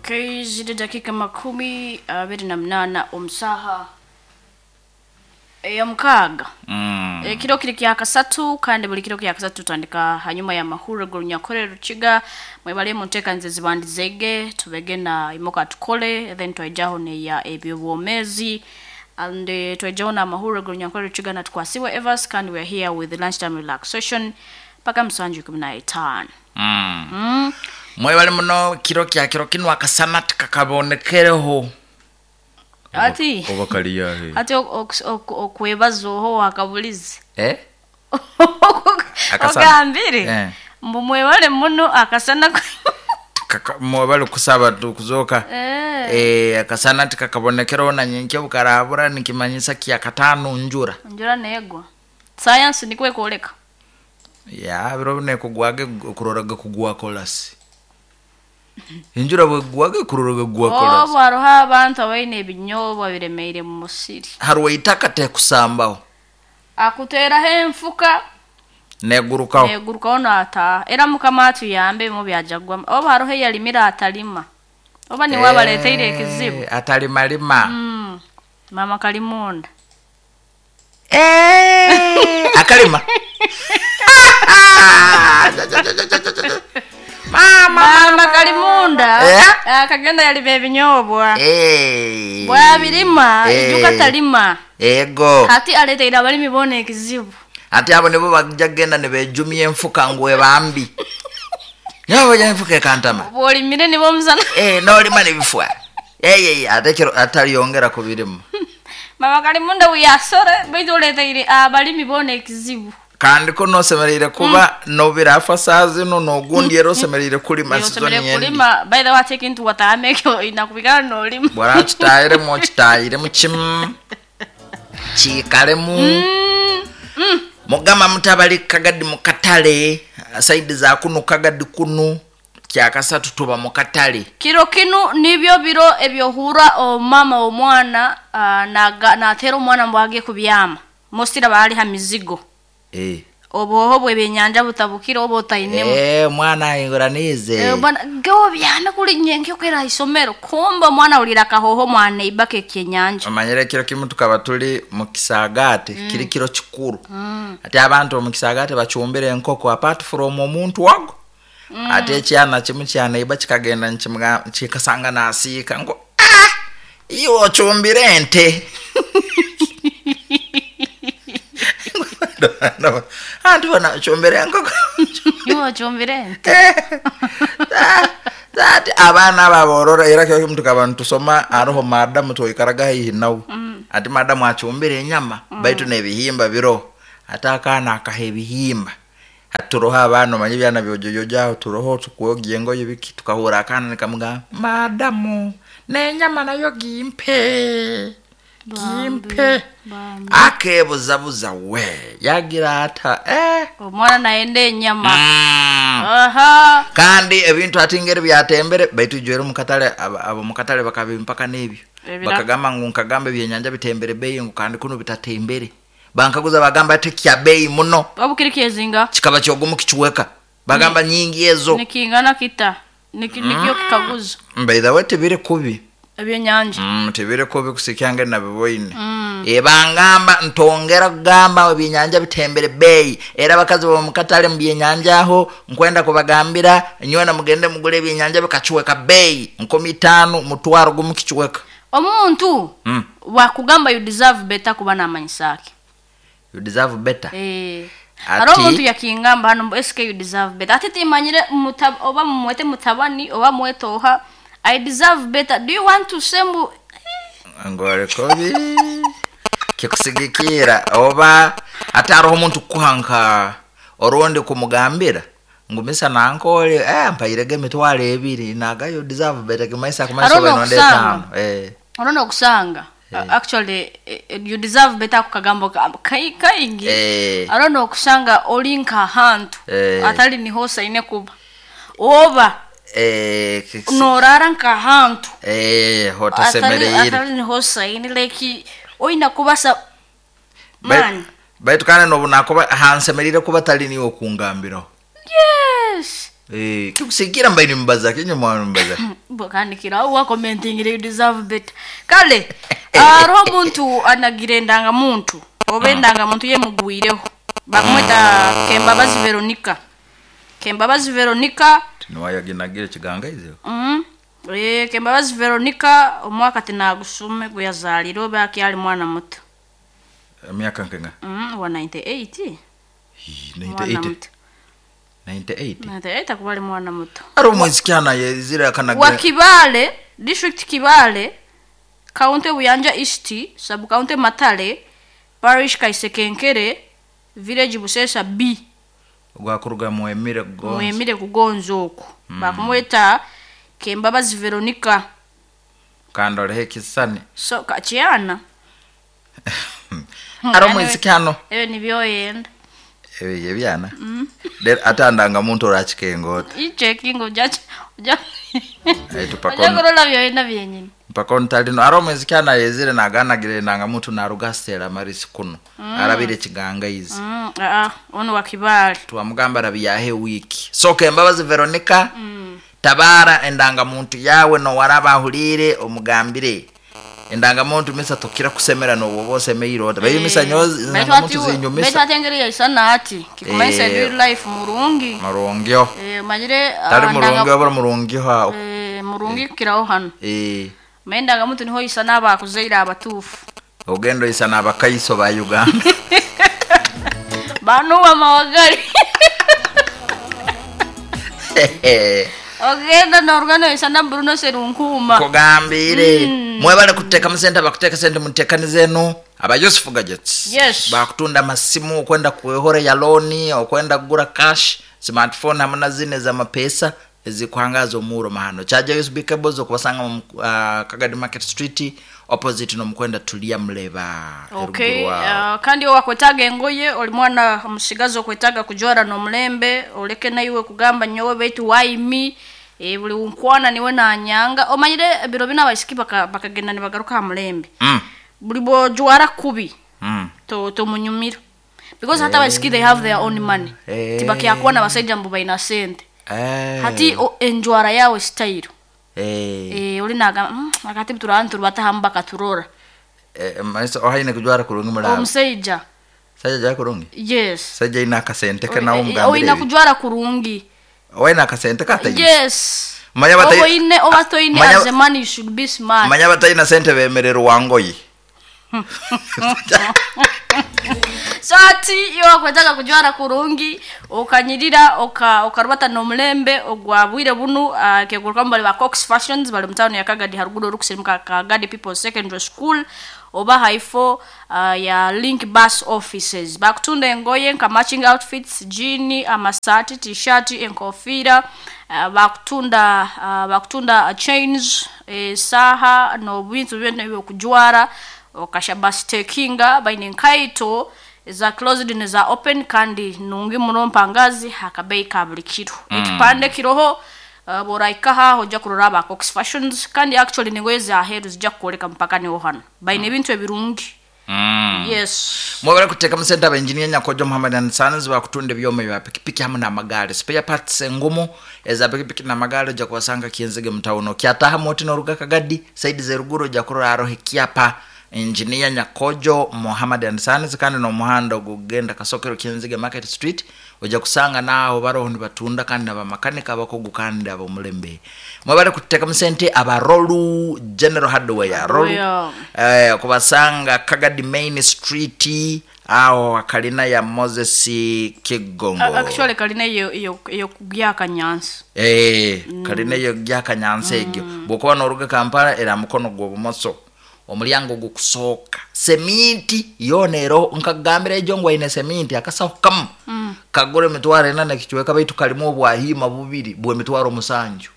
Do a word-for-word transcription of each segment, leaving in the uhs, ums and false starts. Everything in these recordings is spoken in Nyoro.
Okay, ziri dakika makumi abiri na munana omusaha ey'omukaaga. Mm. Ekiro kiri kya kasatu, kandi buli kiro kya kasatu tutandika hanyuma ya mahuriro g'Orunyankore Rukiga. Mwebale munteekanize zibandizege tubege na imoka tukole, then twaijaho neya ebyobwomezi, and uh, twaijaho na mahuriro g'Orunyankore Rukiga na tukwasiwe Evas, kandi we are here with the lunchtime relaxation paka musanju ikumi na etaano. Mm. Mm. Mwebale muno. Kiro kya kiro kinu akasana tikakabonekereho. Ati oba kaliyahe? Ati ok- ok- okwebaza oho wakabulizi. Eh? Akasana. Ogambire Eh. mbu mwebale muno akasana. Kaka- mwebale kusaba tu kuzoka. Eh. Eh, akasana tikakabonekereho na nyenkya bukarabura, nikimanyisa kya katano njura. Njura negwa, sayansi nikwo ekwoleka. Ya biro nekugwage kuroraga kugwa kolasi, enjura bwegwaga kuroraga gwa kolasi. Obu hariho abantu abaine ebinyobwa biremeire mu musiri. Haruwa itaka tekusambaho. Akuteeraho enfuka. Negurukaho. Negurukaho nataaha. Era Mukama atuyambe ebimu byajagwamu. Obu hariho eyalimire atalima, oba niwe abaleteire ekizibu. Eh, atalimalima. Mm. Mama kalimunda. Eh, akalima mama. Mama kalimunda. Eh? Akagenda yalima ebinyobwa. Eh. Bwabirima, Eh. ijuka talima. Ego. Hati aleteire abalimi boona ekizibu. Ati abo nibo bajja kugenda nibejumya enfuka ngu ebambi nyaboja enfuka ekantama. Bwolimire nibo omusana. Eh, nolima nebifwa eyeye, ate kiro ataliyongera ku birimu. Mama kalimunda wiyasore, baitu oleteire abalimi boona ekizibu. Kandi ko nosemereire kuba nobirafa saa zino nogundi, era osemereire kulima sizoni Osemereire yendi. kulima. By the way, ate ekintu watahama ekyo inakubikana nolima. Bwara kitayiremu, okitayiremu kimu kiikalemu. Mm, mm. Mugamba mutabali kagadi mukatale saidi za kunu kagadi kunu kyakasatu tuba mukatale. Kiro kinu nibyo biro ebyohura omama omwana ah, naga- natera omwana mbwage kubyama mosira bali ha mizigo. Eh. Obuhoho bw'ebyenyanja butabukire oba otainemu. Eh, omwana ahinguraniize. Eh, bwana gewo byana kuli nyenke kwera isomero, kumba omwana awulira akahoho mwana ibaka ekyenyanja. Omanyire ekiro kimu tukaba tuli mu kisaagaate, kiri kiro kikuru, ate abantu omu kisaagaate bacumbire enkoko apart from omuntu wago, ate ekyana kimu kyaneiba kikagenda nikimuga- kikasanga nasiika ngu, "Ah, iwe ocumbire ente." Anti bona ocumbire enkoko. Iwe ocumbire ente. Ati abaana abo aborora, era kiro kimu tukaba nitusoma, hariho madamu twikaraga haihi nawe, ati madamu acumbire enyama baitu n'ebihimba biroho, ate akaana akaha ebihimba. Ati turoho abaana, omanye ebyana byojojojo aho, turoho tukwogya engoye biki, tukahura akaana nikamugamba, "Madamu, n'enyama nayo gimpe, gimpe." Bambi. Akebuzabuza we yagira ata eh. Omwana nayenda enyama. Mm. Aha. Kandi ebintu ati ngeri byatembere, baitu ijwere mukatale abo abo mukatale bakabimpaka n'ebyo. Ebira- Bakagamba ngu nkagamba ebyenyanja bitembere bei, ngu kandi kuno bitatembere. Bankaguza bagamba ati kya bei muno. Obu kiri kyezinga. Kikaba kyogumu kikiweka, bagamba nyingi ezo. Nikingana kita. Niki- nikyo kikaguzo. By the way, tibiri kubi. Ebyenyanja. Mm, tibiri kubi kusikyange nabiboine. Mm. E, bangamba ntongera kugamba ebyenyanja bitembere bei, era abakazi bomukatale mu byenyanja aho nkwenda kubagambira nywena mugende mugule ebyenyanja bikakiweka bei nkumi itaano mutwaro gumu kikiweka. Omuntu Mm. wakugamba you deserve better kuba namanyisake. You deserve better. Eh. Ati- Hariho omuntu yakingamba hano mbu S K, you deserve better. Ate timanyire muta, oba mumwete mutabani oba mwete oha, I deserve better, do you want to say mbu Ngolikobi kikusigikira oba ate hariho omuntu kukuha nka orundi kumugambira ngu misa nankole eh, mpairege emitwaro ebiri naga you deserve better kimaisa kumaisa. Hariho oba enonda n'okusanga. etaano eh. Hariho nokusanga. Uh, actually eh, eh, you deserve better ako kagambo ka- kai- kaingi. Eh. Hariho nokusanga oli nkahantu Eh. atali niho osaine kuba oba Eh, kikusi- norara nkahantu eh, atali hotasemereire. atali niho osaine, like oina kubasa Bai- man. Baitu kandi nobu nakuba hansemerire kuba tali niwe okungambiraho. Yes. Eh, kikusigira mbaine mubaza kinye mwana mubaza. Bakandikira wa commenting, you deserve better. Kale hariho omuntu anagira endangamuntu, oba endangamuntu yemugwireho, bakumweta Kembabazi Veronica. Kembabazi Veronica. Niwayaginagire kigangaize. Mm. Eh, Kembabazi Veronica, omwaka tinagusume gweyazaalire, oba akyali mwana muto. Emyaka nkenga? Mm, wa ninety-eight. Hii, Mwana ninety-eight. muto. ninety-eight. ninety-eight akuba ali mwana muto. Ari omwisikyana yezire akanagira. Wa Kibale, district Kibale, county Buyanja East, sub county Matale, parish Kaisekenkere, village Busesa B. Gwakuruga Mwemire kugonza. Mwemire kugonza okwo. Mm. Bakumweta Kembabazi Veronica. Kandolehe kisani. So kachiana. Ari omwisikyano. Ebyo nibyo yenda. Ebyo ebyana. Mm. Der atandanga muntu orachikengota. Ichecking ujacha uja. Eh, tupakon. Uja kurola byoyenda byenyini. Mpaka ntalino ari omwisikyana yezire naganagire nanga muntu narugasera marisi kuno. Mm. Arabire kigangaizi. Mm, ah, ono wa Kibale. Twamugamba rabiyahe wiki. So Kembabazi Veronica. Mm. Tabara endanga muntu yawe no waraba ahulire omugambire. Endanga muntu misa tokira kusemera no bose meirota. Bayi misa nyozi endanga muntu zinyumisa. Betu atengere isana ati kikumaisa Eh. real life murungi. Murungyo. Eh, majire Tari murungi abara murungi ha. Eh, murungi kiraho hano. Eh. Mendanga muntu niho isana abakuzeira abatufu. Ogendo isana abakaiso ba Uganda. Banu wa mawagali. Ogenda na organo isana Bruno Serunkuma. Kugambire. Mm. Mwebale kuteka musente, bakuteka sente mutekanize eno aba Yusuf Gadgets. Yes. Bakutunda masimu okwenda kuehore ya loni okwenda kugura cash smartphone hamwe na zine za mapesa ezikwangaza omuro mahano. Charger U S B cables okubasanga mu uh, Kagadi Market Street opposite no mukwenda tulia mleba. Okay. Eruguru wao. Uh, kandi owakwetaga engoye oli mwana omusigazi okwetaga kujwara n'omulembe oleke naiwe kugamba nyowe baitu why me. E, buli nkwana niwe nanyanga omanyire ebiro bina abaisiki baka, bakagenda nibagaruka ha mulembe. Mm. Buli bwojwara kubi Mm. to, to munyumira because hata abaisiki they have their own money. Eh. Tibakyakuwa n'abasajja mbu baina sente. Eh. Hati o, enjwara yawe style. Eh. Eh, oli nagamba mm, akati turana turubata hamu bakaturora. Eh, maisa ohaine kujwara kurungi mulaba. Omusajja. Sajja jwara kurungi? Yes. Sajja ina akasente ke nawo Oina mugambire. kujwara kurungi. Oina akasente katayi. Yes. Manya batayi. Oine obatoine Manya as a man you should be smart. Manya batayina sente bemerera wangoyi. So ati iyo wakwetaka kujwara kurungi okanyirira oka okarubata n'omulembe ogwabwire bunu uh, keguluka bali ba Cox Fashions bali mutano ya Kagadi haruguru orukusirimuka Kagadi People Secondary School oba haifo uh, ya Link Bus Offices. Bakutunda engoye nka matching outfits, jean, amasati, t-shirt, enkofira, uh, bakutunda uh, bakutunda uh, chains, eh, saha n'obintu byonna ebyokujwara okasha takinga baine nkaito za closed ne za open kandi nungi muno mpangazi hakabei ka buli kiro. Mm. Ekipande kiroho uh, boraikaha hoja kurora aba Cox Fashions kandi actually ningoye za heru zijja kukoleka mpaka niho hano baine ebintu ebirungi. Mm. Yes. Mwebale kuteka musente aba engineer Nyakojo Muhammad and Sons bakutunda ebyoma bya pikipiki hamwe n'amagaali spare parts engumu eza pikipiki n'amagaali ojja kubasanga Kienzege mu town okyataha moti n'oruga Kagadi side z'eruguru ojja kurora aroho ekyapa Engineer Nyakojo Muhammad and Sons kandi n'omuhanda ogugenda Kasokero Kienzege Market Street ojja kusanga naaho baroho nibatunda kandi n'abamakanika abakugu kandi ab'omulembe. Mwebale kuteka musente aba Rolu General Hardware Rolu Yeah. eh, kubasanga Kagadi Main Street aho kalina ya Moses Kigongo. Actually kalina iyo iyo iyo kugyaka nyansi. Eh, mm. kalina iyo gyaka nyansi egyo. Mm. Bwokuba n'oruga Kampala era mukono gw'obumoso omulyango gukusooka seminti yona ero nkagambira ejo ngo aine seminti akasaho kamu Mm. kagura emitwaro ena nekichweka baitu kalimu obwahima bubiri bw'emitwaro musanju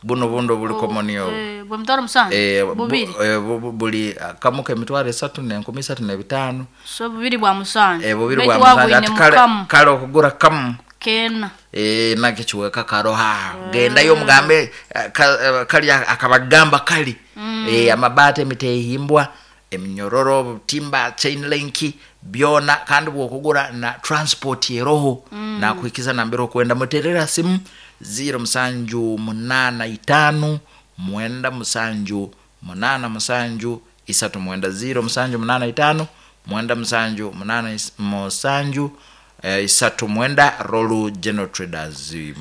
buno bundo buli komoni obu Eh, bwe mitwaro musanju Eh, bu- bubiri eh, bu- bu- buli kamu k'emitwaro esatu n'enkumi isatu n'ebitaano so bubiri bwa musanju Eh, bubiri Baitu bwa musanju wabwine ati kale mukamu kale okugura kamu kena Eh, nakichweka karoha gendayo omugambe eh, ka- eh, kali akabagamba kali mm. eh, amabaati emitehimbwa eminyororo obutimba chain link byona kandi bwokugura na transport eroho mm. nakuhikiza nambere okwenda muterera simu ziro musanju munana itanu mwenda musanju munana musanju isatu mwenda ziro musanju munana itanu mwenda musanju munana is- musanju eh, isatu mwenda Rolu General Traders. Mm,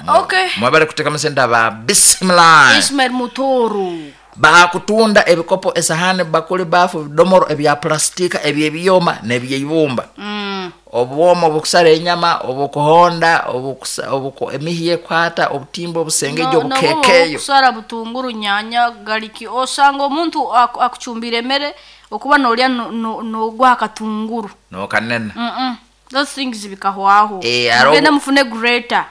Okay. Mwabale kuteka masenta ba bismillah. Ismail Mutoro. Bakutunda ebikopo, esahani, bakuli, bafu, bidomoro ebya plastika, ebyebyoma n'ebyeibumba. Mm. Obwoma obukusala enyama, obukuhonda, obukusa- obuku emihi ekwata obutimba, obusengejo, obukekeyo. Okusara butunguru, nyanya, gariki, osanga omuntu aku- akuchumbira emere okuba nolya no- no- nogwa akatunguru. Nokanena. Mm-mm. Those things bikahwaho. Eh, aro- Mugende mufune grater.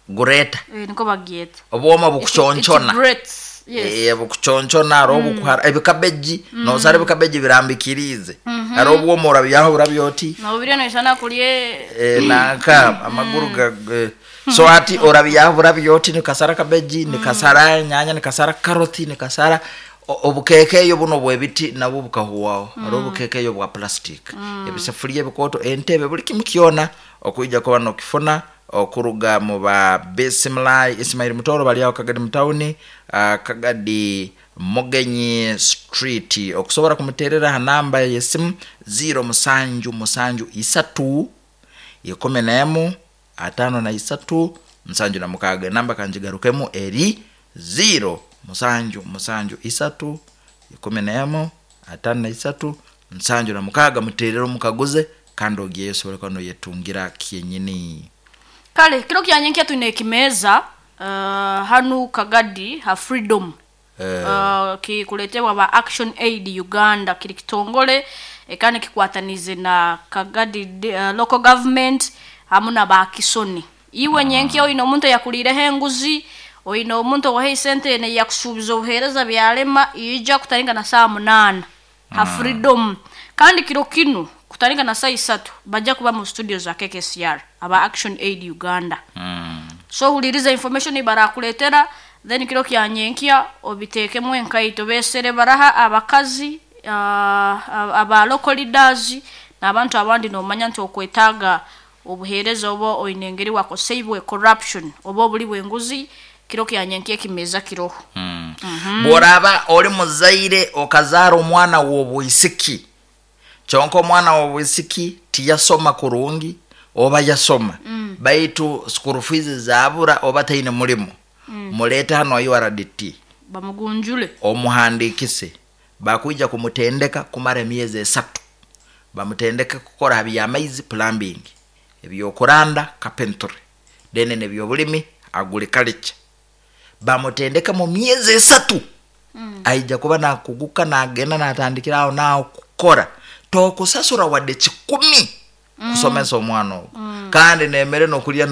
Gureta. Eh, niko bagyeta. Obwoma It- bukuchonchona. it grates. Yes. Eh, bukuchonchona, hariho obukuhara ebikabeji, nosara ebikabeji birambikirize, hariho obwoma orabyaho burabya oti. Nobirya noisana kulye. Eh, nanka amaguru ga eh, so ati orabyaho burabya oti nikasara kabeji, nikasara nyanya, nikasara karoti, nikasara o- obukekeyo buno bwebiti nabwo bukahuwaho, hariho obukekeyo bwa plastic, ebisefuria ebikoto, entebe, buli kimu kyona okuija kuba nokifuna okuruga mu ba Bismillah Ismail Mutoro bali aho Kagadi mutawuni, uh, Kagadi Mugenyi Street. Okusobora kumuterera ha namba yesimu ziro musanju musanju isatu ikumi nemu atano na isatu musanju na mukaga. Enamba kanjigarukemu eri ziro musanju musanju isatu ikumi nemu atano na isatu musanju na mukaga. Muterere omukaguze kandi ogiyeyo osobole kuba noyetungira kyenyini. Kale kiro kyanyenkya twine ekimeza uh, hanu Kagadi ha Freedom. Eh. uh, kikuletebwa ba Action Aid Uganda, kiri kitongole eh, kandi kikwatanize na Kagadi uh, local government hamu na bakisoni. Iwe nyenkya oyina omuntu eyakuliireho enguzi, oyina omuntu owaha esente neyakusuubiza obuheereza byalema, ija kutaringa na saa munaana ha Freedom. Kandi kiro kinu kutaringa na saa isatu bajja kuba mu studio za K K C R aba Action Aid Uganda. So huliriza information barakuletera, then kiro kyanyenkya obitekemu enkaito besere baraha abakazi, uh, aba local leaders n'abantu abandi nomanya nti okwetaaga obuheereza oba oyina engeri wakoseibwe corruption oba obuli bw'enguzi. Kiro kyanyenkya ekimeza kiroho. Bworaba oli muzaire okazaara omwana w'obwisiki, kyonka omwana w'obwisiki tiyasoma kurungi oba yasoma baitu school fees zabura oba taine mulimu, muleete hano U R D T. Bamugunjule. Omuhandikise, bakwija kumutendeka kumara emyezi esatu, bamutendeke kukora ha byamaizi, plumbing, ebyokuranda, carpentry, then nebyobulimi, agriculture. Bamutendeka mu myezi esatu, aija kuba nakuguka nagenda natandikira aho naho kukora. Tokusasura wadde kikumi kusomesa omwana ogwo, kandi nemere nokulya.